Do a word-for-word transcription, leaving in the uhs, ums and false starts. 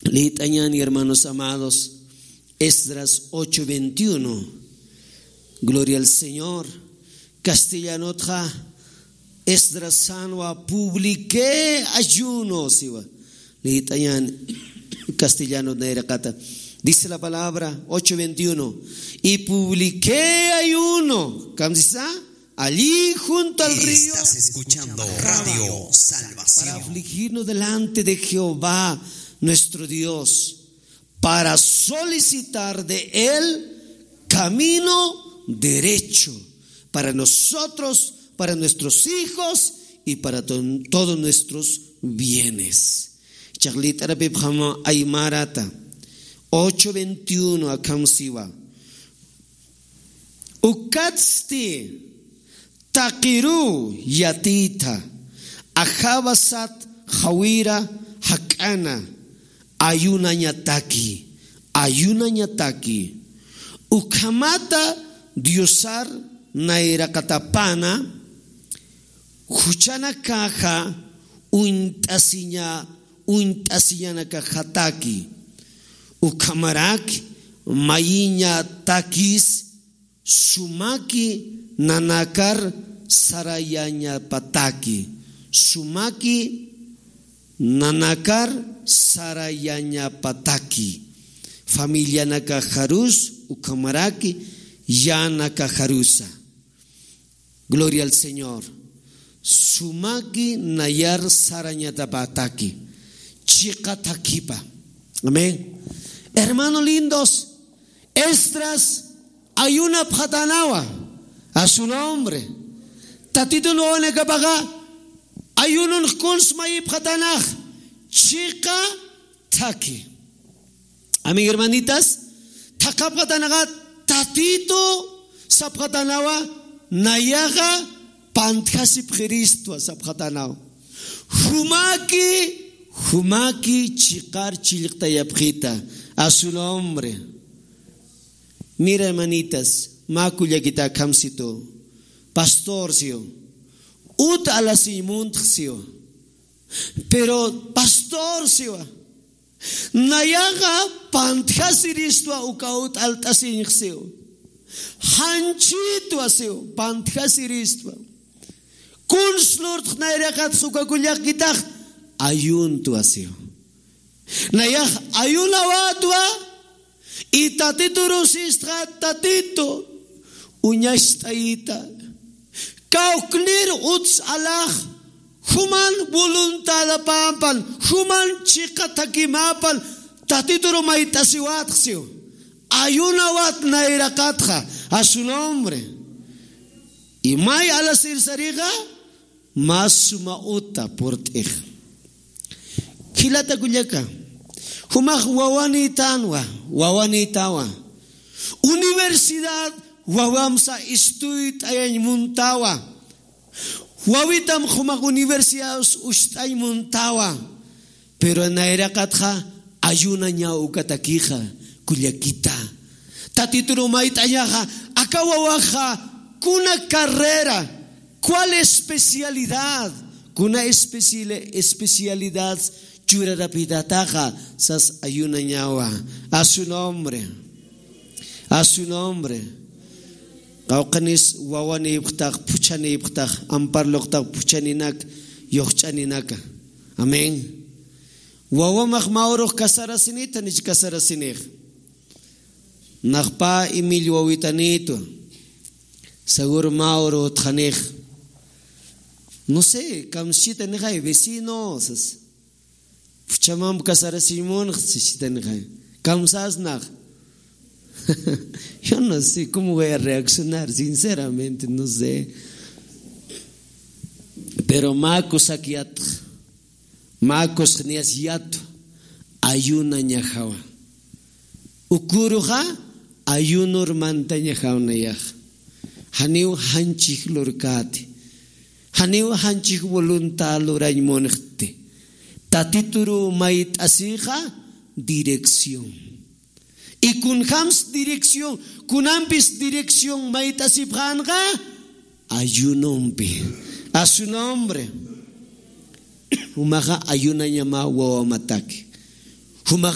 Lït'añäni, hermanos amados, Esdras ocho veintiuno. Gloria al Señor. Castellanotxa, Esdras sänwa, publiqué ayuno, siwa. Lït'añäni castellanot nayraqata. Dice la palabra, ocho veintiuno: "Y publiqué ayuno". ¿Kamsisa? Allí junto al río. Estás escuchando Radio Salvación. Para afligirnos delante de Jehová, nuestro Dios, para solicitar de él camino derecho para nosotros, para nuestros hijos y para to-, todos nuestros bienes. Chaqlit'arapipxama aymarata ocho veintiuno akham siwa. Ukatsti taqiruw yatiyta, ajawa sat jawira jak'ana, ayunañataki, ayunañataki. Ukhamata Diosar nayraqatapana juchanakaxa uñt'asiña, uñt'asiñanakaxataki. Ukhamarak mayiñatakis sumaki nanakar sarayañapataki. Sumaki nanakar sarayañapataki. Familianakaxarus ukhamaraki yänakaxarusa. Gloria al Señor. Sumaki nayar sarañatapataki. Chiqa thakhipa. Amén. Hermano lindos, Esdras ayunapxatanawa. A su nombre. Tatitun wawanakapaxa ayununx kuns mayipxatanax. Chiqa thakhi. Amén, hermanitas. Thaqhapxatanaxa Tatitu sapxatanawa, nayaxa pantjasipxiristwa sapxatanawa. Jumaki, jumaki chiqar chillqtayapxita. A su nombre. Mira, hermanitas, mä kullakita akham situ. Pastor siw. Ut alasiñ muntx siw. Pero pastor siwa. Nayaxa pantjasiristwa uka ut alt'asiñx siw. Janchitwa siw, pantjasiristwa. Kuns lurtx nayraqatx uka kullakitax ayuntwa siw. Nayax ayunawätwa, y Tatiturus istxa, Tatitu, uñacht'ayita. Kawknir uts alax, juman voluntadapäpan, juman chiqa thakhimäpan, Tatituru mayt'asiwätx siw. Ayunawät nayraqatxa, a su nombre. Y may alasir sarixa, mä suma uta purt'ix. Jilata kullaka, jumax wawanïtanwa, wawanïtawa. Universidad wawamsa istuyt'ayañ muntawa. Wawitam jumax universidad ucht'añ muntawa. Pero nayraqatxa ayunañaw ukatakixa, kullakita. Tatituru mayt'añaxa, aka wawaxa, kuna carrera, cuál especialidad, kuna especial-, especialidad churarapitataxa, sas ayunañawa. A su nombre. A su nombre. Qawqhanis wawanïpxtax, phuchhanïpxtax, amparluqtax phuchhaninak, yuxch'aninaka. Amén. Wawamax mä urux casarasinïta, nich casarasinïx. Naxpa imill wawitanïtwa. Seguro mä uru utxanïx. No sé, kamsitanixay, vecino, sas. Phuchhamamp casarasiñ munx, sisitanixay. Kamsasnax. Yo no sé cómo voy a reaccionar, sinceramente, no sé. Pero mä kusak yatx, mä kusxniyas yatwa, ayunañajawa. Uküruxa ayunur mantañajaw nayax. Janiw janchij lurkäti. Janiw janchij voluntad lurañ munxti. Tatituru mayt'asixa dirección. Y kunjams dirección, kunampis dirección mayt'asipxänxa, ayunompi. A su nombre. Jumaxa ayunañama wawamataki. Jumax